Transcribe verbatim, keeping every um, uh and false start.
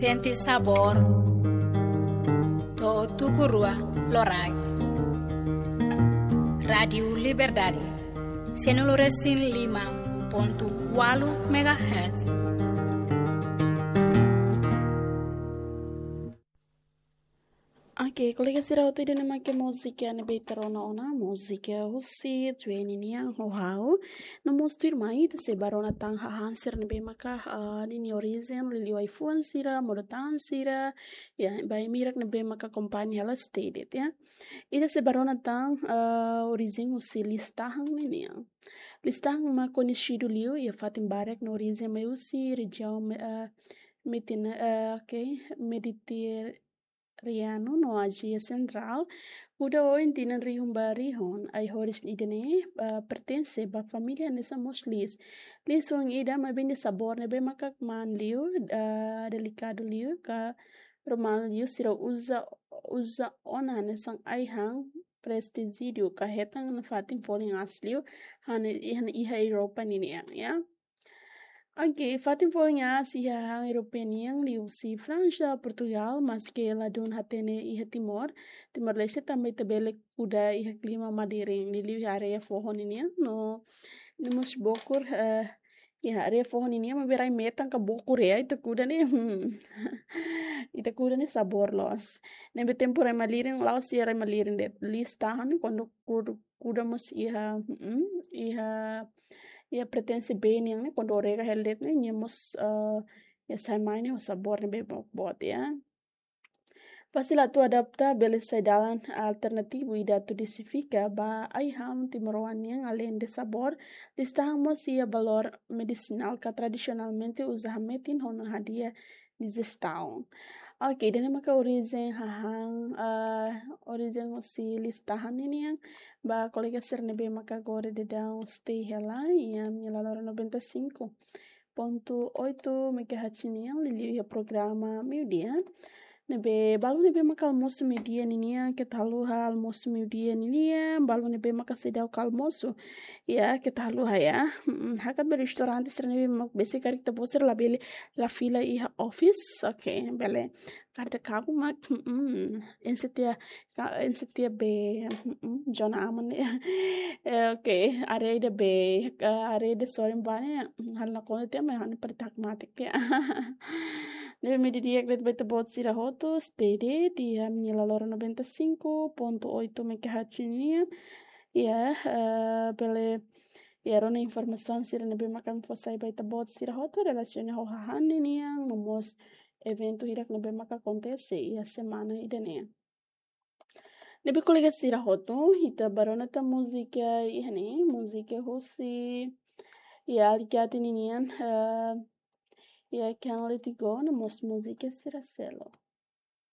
Sente sabór. To'o tuku rua loraik. Rádiu Liberdade. Sianulu resin lima pontu ualu megahertz. Oke, kolega sira hotu, ida-ne'e mak múzika ne'ebé ita rona ona, múzika husi Twenty nian, Ho Ha'u. No mós tuirmai ita sei bá rona tan hahán sira ne'ebé maka, ah, ninia orijen, liuliu ai-fuan sira, modo-tahan sira, ya, ba ema hirak ne'ebé maka akompaña hela Stay Dead, ya. Ita sei bá rona tan, ah, orijen husi listahan ninian. Listahan mak koñesidu liu iha fatin barak no orijen mai husi rejiaun, ah, Mediterráneu, ah, oke, Mediterráneu no Ázia Sentrál. Kuda oin tinan rihun ba rihun, ai-horis ida-ne'e, ah, pertense ba família hanesan mós liis. Liis oin ida maibé nia sabór ne'ebé maka kmaan liu, ah, delikadu liu, ka romanu liu, sira uza, uza ona hanesan ai-han prestíjiu ka hetan nafatin folin aas liu, han iha, iha Europa ninian, ya. Oke, fatin folin aas iha han Europa nian liuhusi Fransa, Portugal, maske ladún hatene iha Timor. Timor-Leste tanba ita bele kuda iha klima madirin, liuliu iha área foho ninian, no, no mós bokur, eh, iha área foho ninian, maibé rai metan ka bokur ya, ita kuda ne'e, hmm. Ita kuda ne'e sabór loos. Ne'ebé tempu rai malirin, la'ós iha rai malirin de'it. Listahan ne'e kuandu kuda, kuda mós iha, mm, iha, iha pertense bee nian ne'e, kuandu o rega hela de'it ne'e, nia mós, eh, nia sai mai ne'e ho sabór ne'ebé boot, ya. Fasil atu adapta, bele sai dalan alternativu ida atu diversifika ba ai-han timoroan nian, aleinde sabór, listahan mós iha valór medisinál ka tradisionalmente uza hametin ho hadi'a dijestaun. Oke, ida-ne'e maka orijen hahán, ah, orijen husi listahan ninian, ba kolega sira ne'ebé maka agora daudaun stay hela, iha nia laloran noventa e cinco ponto oito megahertz nian, liuliu iha programa meiudia. Ne'ebé, balu ne'ebé maka almosu meiudia ninian, keta haluha almosu meiudia ninian, balu ne'ebé maka seidauk almosu. Ya, keta haluha ya. Mm, hakat ba restaurante sira ne'ebé mak besik karik ita-boot sira labele, la fila iha office. Oke, bele. Karik ita kabu mak, mm, ensetia, ka, ensetia be, mm, zona aman ya. Eh, oke, área ida be, eh, área ida sorin ba ne'e, mm, hal na konta tiha, mas hal na paritak matik ya. Ne'ebé meiudia di'ak de'it ba ita-boot sira hotu, stay de'it iha nia laloran noventa e cinco ponto oito megahertz nian. Ya, eh, bele, ya, rona informasaun sira ne'ebé maka ami fó sai ba ita-boot sira hotu relasiona ho hahán ninian, no mós eventu hirak ne'ebé maka akontese iha semana ida-ne'e. Ne'ebé kolega sira hotu, ita bá rona tan múzika iha ne'e, múzika husi, ya, Alicate ninian, eh, ya, Can't Let It Go, no mós múzika sira seluk.